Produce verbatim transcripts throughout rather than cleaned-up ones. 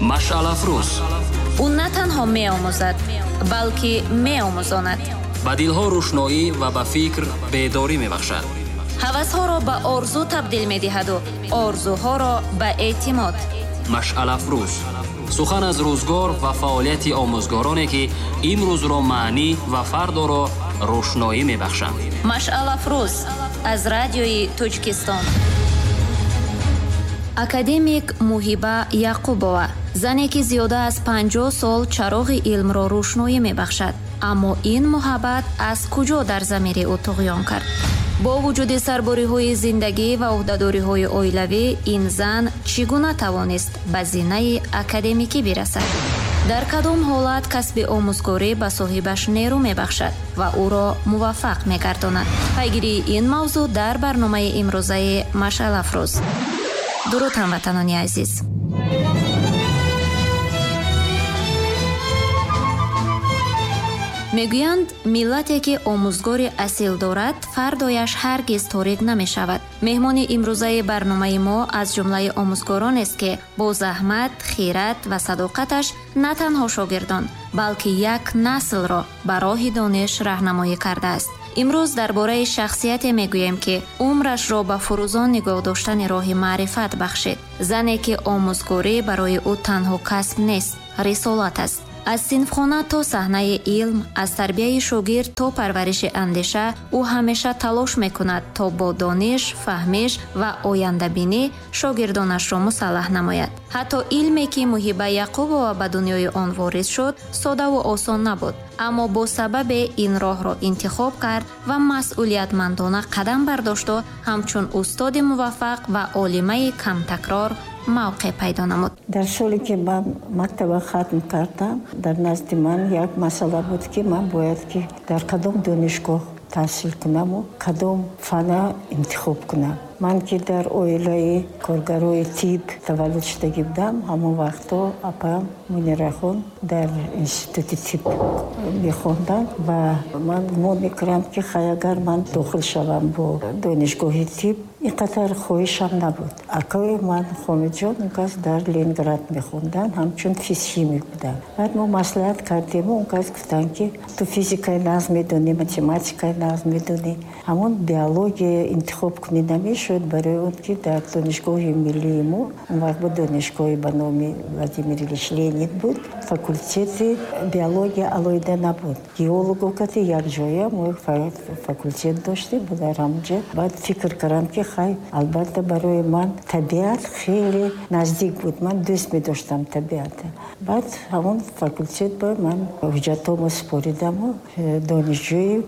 Машъалафрӯз. Ӯ на танҳо меомӯзад, балки меомӯзонад. Ба дилҳо рӯшноӣ ва ба фикр бедорӣ мебахшад. Ҳавасҳоро ба орзу табдил медиҳаду орзуҳоро ба эътимод. Машъалафрӯз. Сухан аз рӯзгор ва фаъолияти омӯзгороне, ки имрӯзро маънӣ ва фардоро рӯшноӣ мебахшанд. Машъалафрӯз аз радиои Тоҷикистон. Академик Муҳиба Яқубова, зане ки зиёда аз панҷоҳ сол чароғи илмро рӯшноӣ мебахшад. Аммо ин муҳаббат аз куҷо дар замири ӯ туғён кард? Бо вуҷуди сарбориҳои зиндагӣ ва ӯҳдадориҳои оилавӣ, ин зан чӣ гуна тавонист ба зинаи академикӣ бирасад? Дар кадом ҳолат касби омӯзгорӣ ба соҳибаш нерӯ мебахшад ва ӯро муваффақ мегардонад? Пайгирии ин мавзӯъ дар барномаи имрӯзаи Машъалафрӯз. Дуруд, ҳамватанони азиз! Мегӯянд, миллате ки омӯзгори асил дорад, фардояш ҳаргиз торик намешавад. Меҳмони имрӯзаи барномаи мо аз ҷумлаи омӯзгоронест, ки бо заҳмат, хират ва садоқаташ на танҳо шогирдон, балки як наслро ба роҳи дониш раҳнамоӣ кардааст. Имрӯз дар бораи шахсияте мегӯем, ки умрашро ба фурӯзон нигоҳ доштани роҳи маърифат бахшид. Зане, ки омӯзгорӣ барои ӯ танҳо касб нест, рисолат аст. Аз синфхона то саҳнаи илм, аз тарбияи шогирд то парвариши андеша, ӯ ҳамеша талош мекунад, то бо дониш, фаҳмиш ва ояндабинӣ шогирдонашро мусаллаҳ намояд. Ҳатто илме, ки Муҳиба Яқубова ба дунёи он ворид шуд, содаву осон набуд, аммо бо сабабе ин роҳро интихоб кард ва масъулиятмандона қадам бардошту ҳамчун устоди муваффақ ва олимаи камтакрор мавқеъ пайдо намуд. Дар соле ки ман мактаба хатм кардам, дар назди ман як масъала буд, ки ман бояд ки дар кадом донишгоҳ таҳсил кунаму кадом фана интихоб кунам. Ман ки дар оилаи коргарои тиб таваллуд шудагӣ будам, ҳамон вақтҳо апаам Мунирахон дар институти тиб мехонданд ва ман гумон мекунам, ки хай агар ман дохил шавам бо донишгоҳи тиб, ин қадар хоҳишам набуд. Акаи ман Хомидҷон он кас дар Ленинград мехонданд, ҳамчун физхимик буданд. Баъд мо маслиҳат кардему, он кас гуфтанд, ки ту физикаи нағз медонӣ, математикаи нағз медонӣ, ҳамон биология интихоб кунӣ намешуд, барои он ки дар донишгоҳи миллии мо, он вақт бо донишгоҳи ба номи Владимир Ильич Ленин буд, факултети биология алоҳида набуд. Геолого кати якҷоя мо факултет доштем, дар ҳамонҷо. Баъд фикр кардам, ки хай, албатта барои ман табиат хеле наздик буд, ман дӯст медоштам табиатро. Баъд ҳамон факултет ба ман ҳуҷҷатҳомо супоридаму донишҷӯи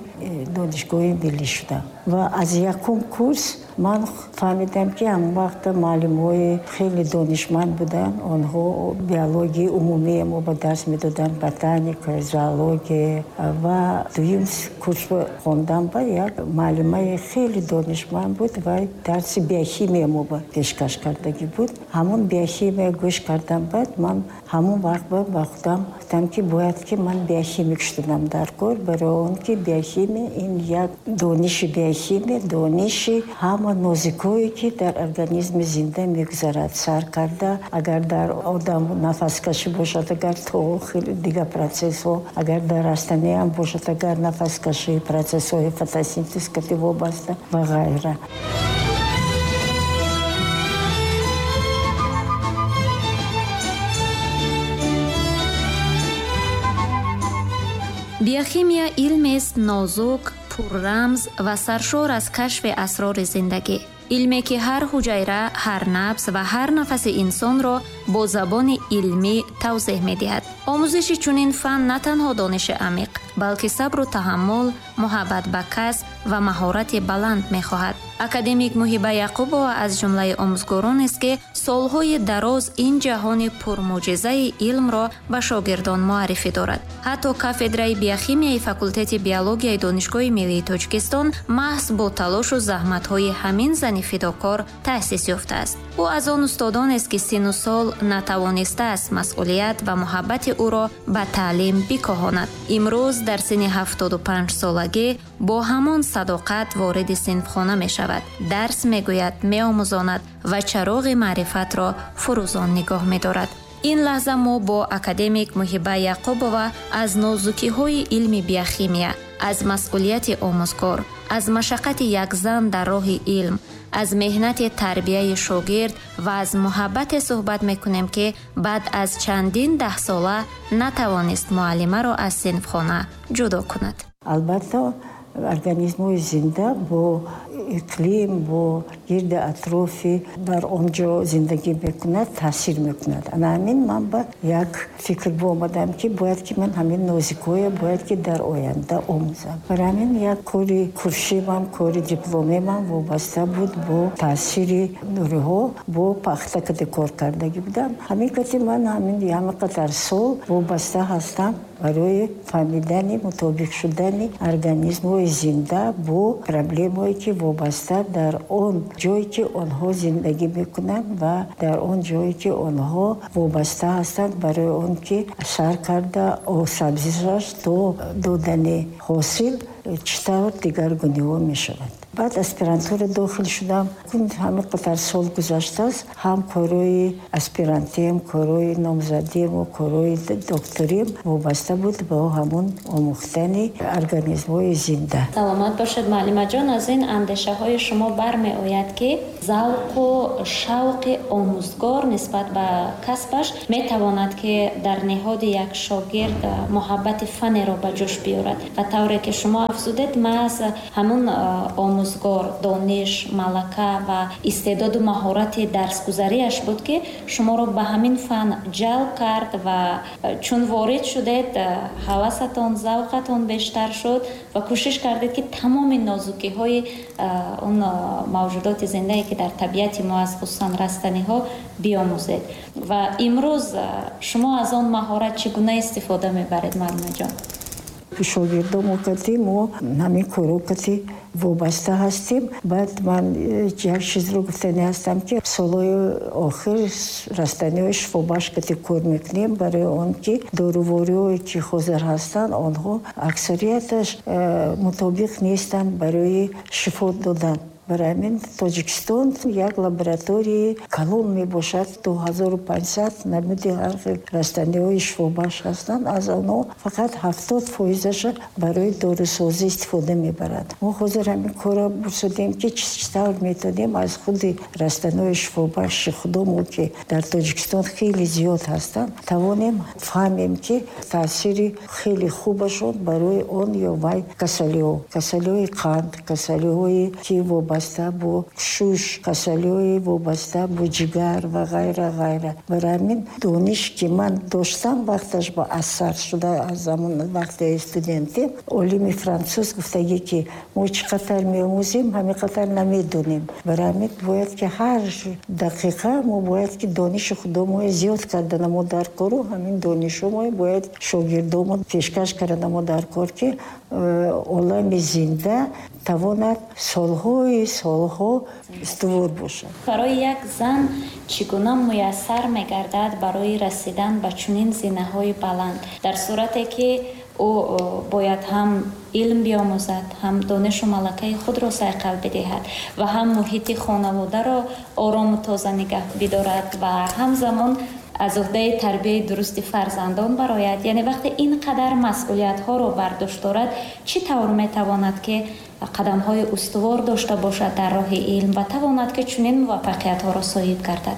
донишгоҳи миллӣ шудам. Ва аз якум курс ман фаҳмидам, ки ҳамон вақта муаллимҳои хеле донишманд буданд. Онҳо биологияи умумие мо ба дарс медоданд, ботаника, зоология. Ва дуюм курс хондам ба як муаллимаи хеле донишманд буд ва дарси биохимия мо ба пешкаш кардагӣ буд. Ҳамон биохимия гӯш кардам, баъд ман ҳамон вақт ба худам гуфтам, ки бояд ки ман биохимик шудам дар кор, барои он ки биохимия ин як дониши биохимия, дониши ҳама нозикое ки дар организми зинда мегузарад, сар карда агар дар одам нафаскашӣ бошад, агар то хеле дигар процессҳо, агар дар растаниам бошад, агар нафаскашӣ, процессҳои фотосинтез кати вобаста ва ғайра. Биохимия илмест нозук, пуррамз ва саршор аз кашфи асрори зиндагӣ. Илме ки ҳар ҳуҷайра, ҳар набз ва ҳар нафаси инсонро бо забони илмӣ тавзеҳ медиҳад. Омӯзиши чунин фан на танҳо дониши амиқ, балки сабру таҳаммул, муҳаббат ба касб ва маҳорати баланд мехоҳад. Академик Муҳиба Яқубова аз ҷумлаи омӯзгоронест, ки солҳои дароз ин ҷаҳони пурмуъҷизаи илмро ба шогирдон муаррифӣ дорад. Ҳатто кафедраи биохимияи факултети биологияи Донишгоҳи миллии Тоҷикистон маҳз бо талошу заҳматҳои ҳамин зани фидокор таъсис ёфтааст. Ӯ аз он устодонест, ки сину сол натавонистааст масъулият ва муҳаббати ӯро ба таълим бикоҳонад. Имрӯз дар синни ҳафтоду панҷ солагӣ бо ҳамон садоқат вориди синфхона мешавад, дарс мегӯяд, меомӯзонад ва чароғи маърифатро фурӯзон нигоҳ медорад. Ин лаҳза мо бо академик Муҳиба Яқубова аз нозукиҳои илми биохимия, аз масъулияти омӯзгор, аз машаққати як зан дар роҳи илм, аз меҳнати тарбияи шогирд ва аз муҳаббате суҳбат мекунем, ки баъд аз чандин даҳсола натавонист муаллимаро аз синфхона ҷудо кунад. Албатта, организмҳои зинда бо иқлим, бо гирди атрофи дар он ҷо зиндагӣ мекунад, таъсир мекунад. Ана ҳамин ман ба як фикр боомадам, ки бояд ки ман ҳамин нозикҳое бояд ки дар оянда омӯзам. Барои ҳамин як кори курсиам, кори дипломиам вобаста буд бо таъсири нуриҳо бо пахта каде кор кардагӣ будам. Ҳамин кати ман ҳамин ҳама қадар сол вобаста ҳастам барои фаҳмидани мутобиқ шудани организмҳои зинда бо проблемҳое ки вобаста дар он ҷое ки онҳо зиндагӣ мекунанд ва дар он ҷое ки онҳо вобаста ҳастанд барои он ки сар карда сабзишаш то додани ҳосил чӣ тавр дигаргуниҳо мешавад. Баъд аспирантура дохил шудам. Ҳама қадар сол гузаштааст, ҳам корҳои аспирантиам, корҳои номзадиам ва корҳои докториам вобаста буд ба ҳамон омӯхтани организмҳои зинда. Саломат бошед, муаллимаҷон. Аз ин андешаҳои шумо бармеояд, ки завқу шавқи омӯзгор нисбат ба касбаш метавонад, ки дар ниҳоди як шогирд муҳаббати фанеро ба ҷӯш биёрад. Ва тавре ки шумо афзудед, маҳз ҳамун омӯзгор дониш, малака ва истеъдоду маҳорати дарсгузариаш буд, ки шуморо ба ҳамин фан ҷалб кард ва чун ворид шудед, ҳавасатон, завқатон бештар шуд ва кӯшиш кардед, ки тамоми нозукиҳои он мавҷудоти зиндае, ки дар табиати мо аст, хусусан растаниҳо, биомӯзед. Ва имрӯз шумо аз он маҳорат чӣ гуна истифода мебаред, муаллимаҷон? Шогирдомо кати мо ҳамин корҳо кати вобаста ҳастем. Баъд ман як чизро гуфтанӣ ҳастам, ки солҳои охир растаниҳои шифобахш кати кор мекунем, барои он ки дорувориҳое ки ҳозир ҳастанд, онҳо аксарияташ мутобиқ нестанд барои шифо додан. Барои ҳамин Тоҷикистон як лабораторияи калон мебошад, ду ҳазору панҷсад намуди ҳар хел растаниҳои шифобахш ҳастанд. Аз онҳо фақат ҳафтод фоизаша барои дорусозӣ истифода мебаранд. Мо ҳозир ҳамин корро бурсудем, ки чӣ тавр метавонем аз худи растаниҳои шифобахши худомо, ки дар Тоҷикистон хеле зиёд ҳастанд, тавонем фаҳмем, ки таъсири хеле хубашон барои он ё вай касалиҳо, касалиҳои қанд, касалиҳое ки вобаста бо шуш, касалиҳои вобаста бо ҷигар ва ғайра ғайра. Барои ҳамин дониш ки ман доштам вақташ ба асар шуда аз замон вақти студентӣ, олими француз гуфтагӣ, ки мо чӣ қадар меомӯзем, ҳамин қадар намедонем. Барои ҳамин бояд ки ҳар дақиқа мо бояд ки дониши худомо зиёд кардана мо дар кору ҳамин донишҳо бояд шогирдомо пешкаш кардана мо дар кор, ки олами зинда тавонад солҳои солҳо устувор бошад. Барои як зан чӣ гуна муяссар мегардад барои расидан ба чунин зинаҳои баланд, дар сурате ки ӯ бояд ҳам илм биомӯзад, ҳам донишу малакаи худро сайқал бидиҳад ва ҳам муҳити хонаводаро орому тоза нигаҳ бидорад ва ҳамзамон аз уҳдаи тарбияи дурусти фарзандон барояд? Яъне вақте ин қадар масъулиятҳоро бар дӯш дорад, чӣ тавр метавонад, ки қадамҳои устувор дошта бошад дар роҳи илм ва тавонад, ки чунин муваффақиятҳоро соҳиб гардад?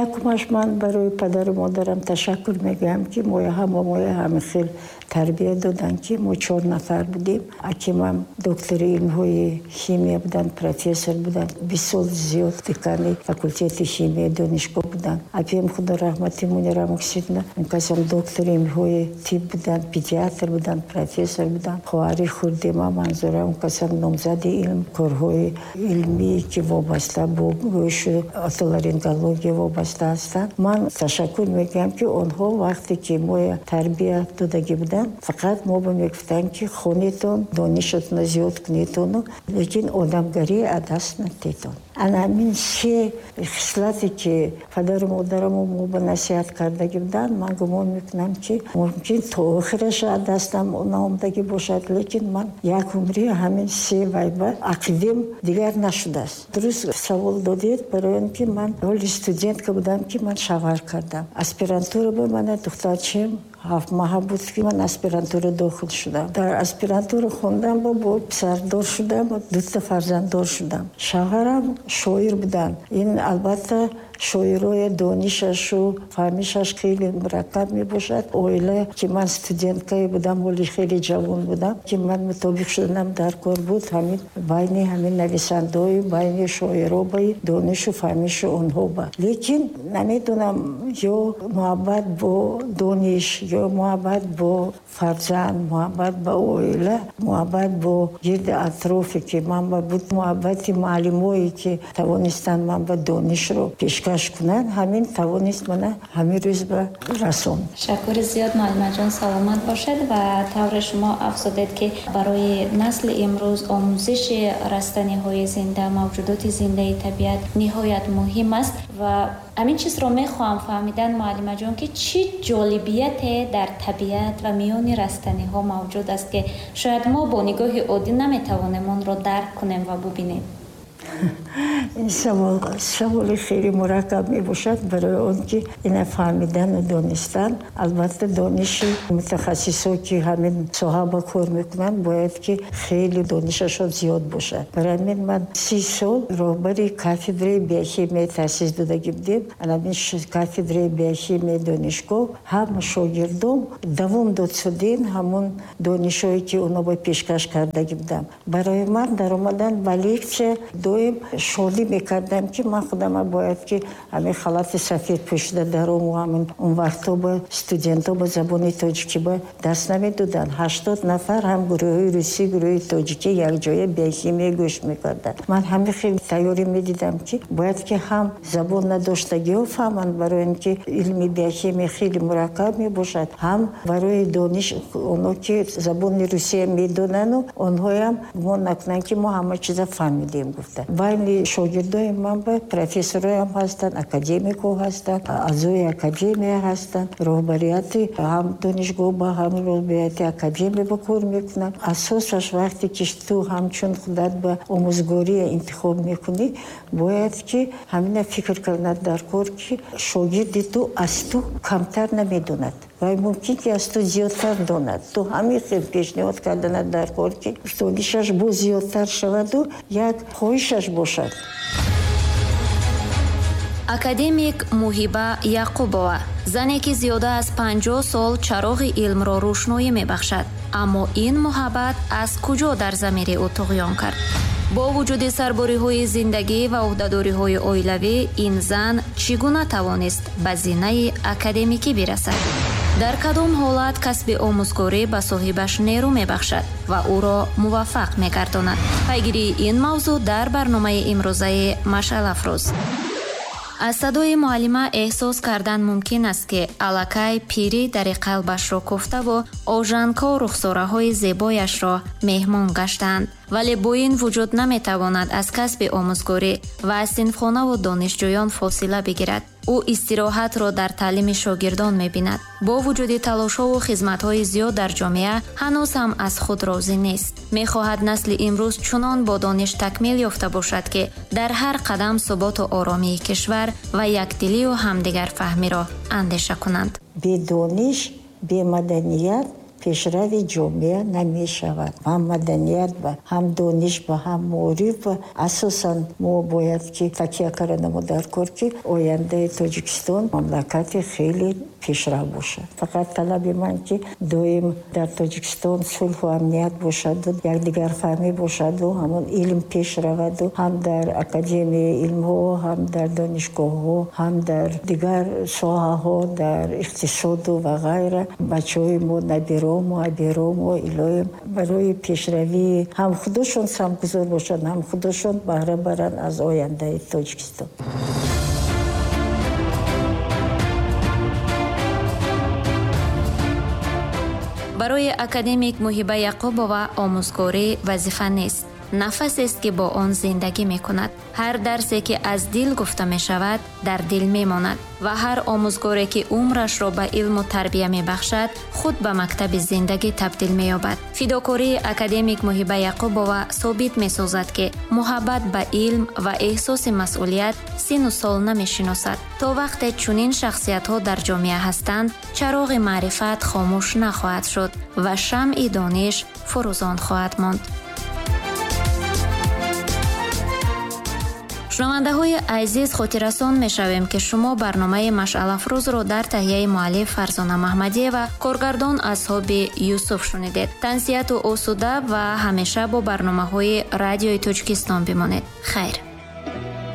Якумаш ман барои падару модарам ташаккур мегӯям, ки моя ҳама моя ҳамин хел тарбия доданд, ки мо чор нафар будем. Акимам доктори илмҳои химия буданд, профессор буданд, бист сол зиёд декани факултети химияи донишгоҳ буданд. Апиам худо раҳмати Мунира Муксидна, он касам доктори илмҳои тиб буданд, педиатр буданд, профессор буданд. Хоҳари хурдема Манзура, он касам номзади илм, корҳои илмие ки вобаста бо гӯшу отоларингология вобаста ҳастанд. Ман ташаккур мегӯям, ки онҳо вақте ки моя тарбия додагӣ буданд, фақат мо ба мегуфтанд, ки хонетон, донишатонро зиёд кунетону, лекин одамгарӣ аз даст надиҳетон. Ана ҳамин се хислате ки падару модарамо мо ба насиҳат кардагӣ буданд, ман гумон мекунам, ки мумкин то охираш аз дастам наомадагӣ бошад, лекин ман як умри ҳамин се вайба ақидем дигар нашудааст. Дуруст савол додед, барои он ки ман ҳоли студентка будам, ки ман шавҳар кардам. Аспирантура ба мана духтарчаем ҳафт маҳа буд, ки ман аспирантура дохил шудам. Дар аспирантура хондам, бо писардор шудам, дута фарзанддор шудам. Шавҳарам шоир буданд. Ин албатта шоирои донишашу фаҳмишаш хеле мураккаб мебошад. Оила ки ман студенткае будам, ҳоли хеле ҷавон будам, ки ман мутобиқ шуданам дар кор буд, ҳамин байни ҳамин нависандаҳою байни шоиро баи донишу фаҳмиши онҳо ба. Лекин намедонам, ё муҳаббат бо дониш, ё муҳаббат бо фарзанд, муҳаббат ба оила, муҳаббат бо гирди атрофе ки ман ба буд, муҳаббати муаллимое ки тавонистанд ман ба донишро пешкаш кунанд, ҳамин тавонист мана ҳамин рӯз ба расон. Ташаккури зиёд, муаллимаҷон, саломат бошед. Ва тавре шумо афзудед, ки барои насли имрӯз омӯзиши растаниҳои зинда, мавҷудоти зиндаи табиат ниҳоят муҳим аст. Ва ҳамин чизро мехоҳам фаҳмидан, муаллимаҷон, ки чӣ ҷолибияте дар табиат ва миёни растаниҳо мавҷуд аст, ки шояд мо бо нигоҳи оддӣ наметавонем онро дарк кунем ва бубинем. Ин савол саволи хеле мураккаб мебошад, барои он ки ина фаҳмидану донистан, албатта дониши мутахассисо ки ҳамин соҳа ба кор мекунанд, бояд ки хеле донишашон зиёд бошад. Барои ҳамин ман си сол роҳбари кафедраи биохимия таъсис додагӣ будем. Ҳамин кафедраи биохимияи донишгоҳ ҳам шогирдом давом дод шудин ҳамон донишҳое ки оно ба пешкаш кардагӣ будам. Барои ман даромадан ба лексия доим шодӣ мекардам, ки ман худама бояд ки ҳамин халати сафед пӯшида дарому ҳамин он вақтҳо ба студентҳо ба забони тоҷикӣ ба дарс намедоданд. Ҳаштод нафар ҳам гурӯҳи русӣ, гурӯҳи тоҷикӣ якҷоя биохимия гӯш мекарданд. Ман ҳамин хел тайёрӣ медидам, ки бояд ки ҳам забон надоштагиҳо фаҳманд, барои он ки илми биохимия хеле мураккаб мебошад, ҳам барои дониш оно ки забони русия медонану онҳоям гумон накунанд, ки мо ҳама чиза фаҳмидем гуфта. Байни шогирдои ман ба профессорҳоям ҳастанд, академикҳо ҳастанд, аъзои академия ҳастанд, роҳбарияти ҳам донишгоҳ ба ҳам роҳбарияти академия ба кор мекунанд. Асосаш вақте ки ту ҳамчун худат ба омӯзгория интихоб мекунӣ, бояд ки ҳамина фикр карданат дар кор, ки шогирди ту аз ту камтар намедонад ва мумкин ки аз ту зиёдтар донад. Ту ҳамин хел пешниҳод карданат дар кор, ки донишаш боз зиёдтар шаваду як хоҳишаш бошад. Академик Муҳиба Яқубова, зане ки зиёда аз панҷоҳ сол чароғи илмро рӯшноӣ мебахшад, аммо ин муҳаббат аз куҷо дар замири ӯ туғён кард? Бо вуҷуди сарбориҳои зиндагӣ ва ӯҳдадориҳои оилавӣ, ин зан чӣ гуна тавонист ба зинаи академикӣ бирасад? Дар кадом ҳолат касби омӯзгорӣ ба соҳибаш нерӯ мебахшад ва ӯро муваффақ мегардонад? Пайгирии ин мавзӯъ дар барномаи имрӯзаи Машъалафрӯз. Аз садои муаллима эҳсос кардан мумкин аст, ки аллакай пирӣ дари қалбашро кофтаву ожанко рухсораҳои зебояшро меҳмон гаштаанд. Вале бо ин вуҷуд наметавонад аз касби омӯзгорӣ ва аз синфхонаву донишҷӯён фосила бигирад. Ӯ истироҳатро дар таълими шогирдон мебинад. Бо вуҷуди талошҳову хизматҳои зиёд дар ҷомеа, ҳанӯз ҳам аз худ розӣ нест. Мехоҳад насли имрӯз чунон бо дониш такмил ёфта бошад, ки дар ҳар қадам суботу оромии кишвар ва якдилию ҳамдигарфаҳмиро андеша кунанд. Бедониш, бемаданият пешрави ҷомеа намешавад. Ҳам маданият ба, ҳам дониш ба, ҳам маориф ба. Асосан мо бояд ки такя карданамо дар кор, ки ояндаи Тоҷикистон мамлакати хеле пешрав бошад. Фақат талаби ман, ки доим дар Тоҷикистон сулҳу амният бошаду якдигарфаҳмӣ бошаду ҳамон илм пеш раваду ҳам дар академияи илмҳо, ҳам дар донишгоҳҳо, ҳам дар дигар соҳаҳо, дар иқтисоду ва ғайра бачаҳои мо, набирому абирому илоҳим барои пешравии ҳам худошон самтгузор бошанд, ҳам худошон баҳра баранд аз ояндаи Тоҷикистон. Барои академик Муҳиба Яқубова омӯзгорӣ вазифа нест, нафасест, ки бо он зиндагӣ мекунад. Ҳар дарсе, ки аз дил гуфта мешавад, дар дил мемонад ва ҳар омӯзгоре, ки умрашро ба илму тарбия мебахшад, худ ба мактаби зиндагӣ табдил меёбад. Фидокории академик Муҳиба Яқубова собит месозад, ки муҳаббат ба илм ва эҳсоси масъулият сину сол намешиносад. То вақте чунин шахсиятҳо дар ҷомеа ҳастанд, чароғи маърифат хомӯш нахоҳад шуд ва шамъи дониш фурӯзон хоҳад монд. Шунавандаҳои азиз, хотиррасон мешавем, ки шумо барномаи Машъалафрӯзро дар таҳияи муаллиф Фарзона Маҳмадиева, коргардон Асҳоби Юсуф шунидед. Тансиҳату осуда ва ҳамеша бо барномаҳои Радиои Тоҷикистон бимонед. Хайр.